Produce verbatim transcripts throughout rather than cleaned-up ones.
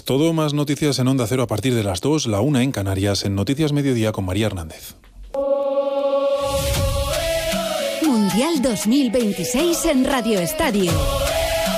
Todo más noticias en Onda Cero a partir de las dos, la una en Canarias, en Noticias Mediodía con María Hernández. Mundial dos mil veintiséis en Radio Estadio.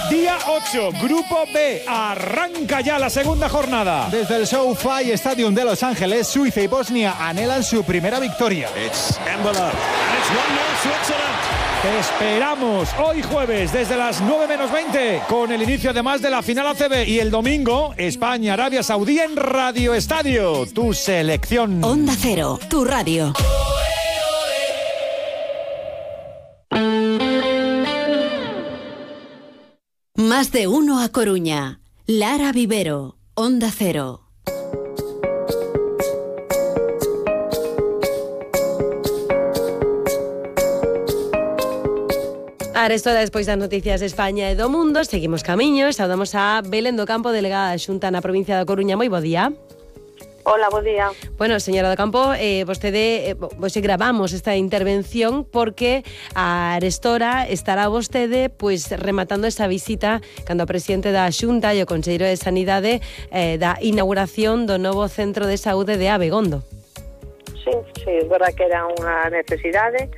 Día ocho, Grupo B, arranca ya la segunda jornada. Desde el SoFi Stadium de Los Ángeles, Suiza y Bosnia anhelan su primera victoria. It's Embolo, and it's one nil Switzerland. Te esperamos hoy jueves desde las nueve menos veinte con el inicio además de la final A C B y el domingo España, Arabia Saudí en Radio Estadio, tu selección. Onda Cero, tu radio. Más de uno a Coruña. Lara Vivero, Onda Cero. Arestora, despois das noticias de España e do mundo, seguimos camiño, saudamos a Belén do Campo, delegada da Xunta na provincia da Coruña. Moi bo día. Hola, bo día. Bueno, señora do Campo, eh, vostede, eh, vos gravamos esta intervención porque a Arestora estará vostede pois rematando esa visita cando o presidente da Xunta e o conselleiro de Sanidade eh, da inauguración do novo centro de saúde de Abegondo. Sí, sí, é verdad que era unha necesidade.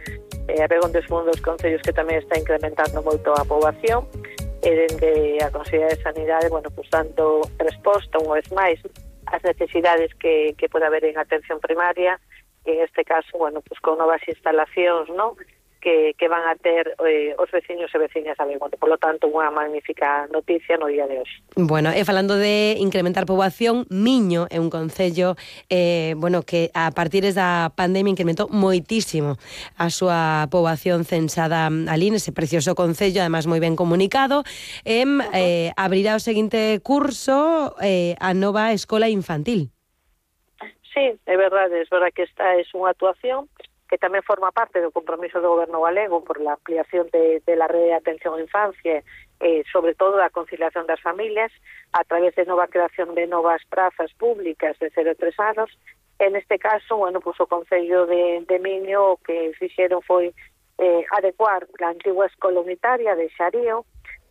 Eh, Abegondo é un dos concellos que tamén está incrementando moito a poboación e dende a Consellería de Sanidade, bueno, pues dando resposta unha vez máis ás necesidades que, que pode haber en atención primaria, e en este caso, bueno, pues con novas instalacións, ¿no?, que, que van a ter eh, os veciños e veciñas de Abegondo. Por lo tanto, unha magnífica noticia no día de hoxe. Bueno, e falando de incrementar poboación, Miño é un concello eh, bueno, que a partir da pandemia incrementou moitísimo a súa poboación censada ali nese precioso concello, además moi ben comunicado. E, eh, abrirá o seguinte curso eh, a nova escola infantil. Sí, é verdade, é verdade que esta é unha actuación que tamén forma parte do compromiso do Goberno galego por la ampliación de, de la rede de atención á infancia, eh, sobre todo a conciliación das familias, a través de nova creación de novas prazas públicas de cero a tres anos. En este caso, bueno, pues o Concello de, de Miño o que fixeron foi eh, adecuar a antigua escola unitaria de Xarío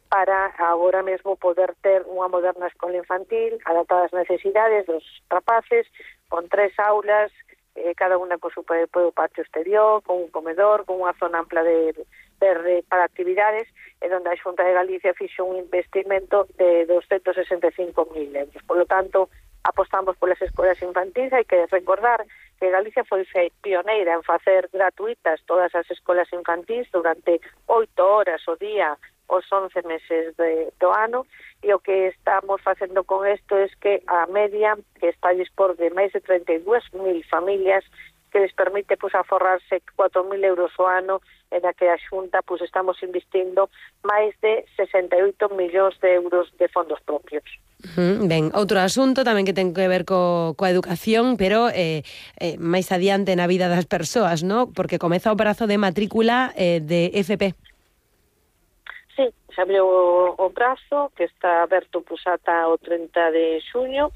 para agora mesmo poder ter unha moderna escola infantil adaptada ás necesidades dos rapaces, con tres aulas, Eh, cada unha con su propio patio exterior, con un comedor, con unha zona ampla de verde para actividades, e onde a Xunta de Galicia fixo un investimento de doscientos sesenta e cinco mil euros. Por lo tanto, apostamos polas escolas infantis. Hai que recordar que Galicia foi pioneira en facer gratuitas todas as escolas infantis durante oito horas o día os once meses de, do ano, e o que estamos facendo con isto é que a media que está a dispor de máis de treinta e dúas mil familias que les permite pues, aforrarse cuatro mil euros o ano, en a que a Xunta pues, estamos investindo máis de sesenta e oito millóns de euros de fondos propios. Uh-huh. Ben, outro asunto tamén que ten que ver co, coa educación, pero eh, eh, máis adiante na vida das persoas, ¿no? Porque comeza o prazo de matrícula eh, de F P. Sí, se abriu o prazo que está aberto pues, ata o trinta de xuño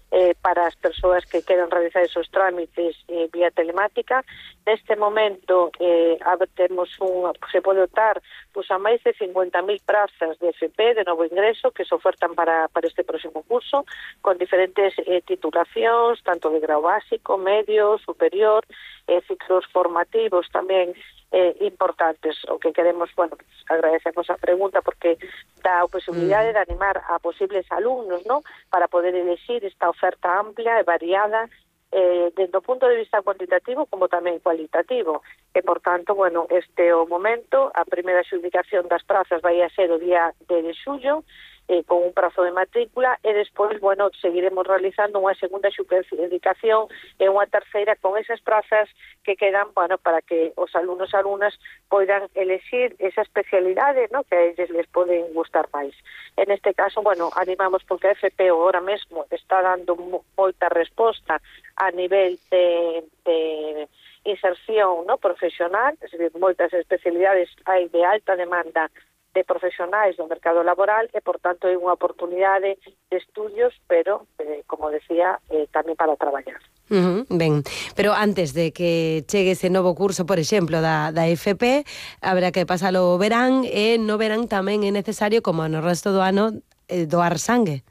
eh, para as persoas que queran realizar esos trámites eh, vía telemática. Neste momento eh, temos un, se pode optar pues, a máis de cincuenta mil prazas de F P de novo ingreso que se ofertan para, para este próximo curso, con diferentes eh, titulacións, tanto de grau básico, medio, superior, eh, ciclos formativos tamén Eh, importantes. O que queremos, bueno, pues, agradecemos a pregunta porque dá a posibilidade de animar a posibles alumnos, ¿no?, para poder elegir esta oferta amplia e variada eh, desde o punto de vista cuantitativo como tamén cualitativo. E, por tanto, bueno, este o momento, a primeira adjudicación das prazas vai a ser o día de xullo, eh, con un prazo de matrícula, e despois, bueno, seguiremos realizando unha segunda adjudicación e unha terceira con esas prazas que quedan, bueno, para que os alumnos e alumnas poidan elegir esa especialidade, ¿no?, que a eles les poden gustar máis. En este caso, bueno, animamos porque a F P ahora mesmo está dando moita resposta a nivel de, de inserción, ¿no?, profesional, es decir, moitas especialidades hai de alta demanda de profesionais do mercado laboral e, por tanto, hai unha oportunidade de estudios, pero, eh, como decía, eh, tamén para traballar. Uh-huh, ben, pero antes de que chegue ese novo curso, por exemplo, da, da F P, haberá que pasalo o verán, e no verán tamén é necesario, como no resto do ano, eh, doar sangue.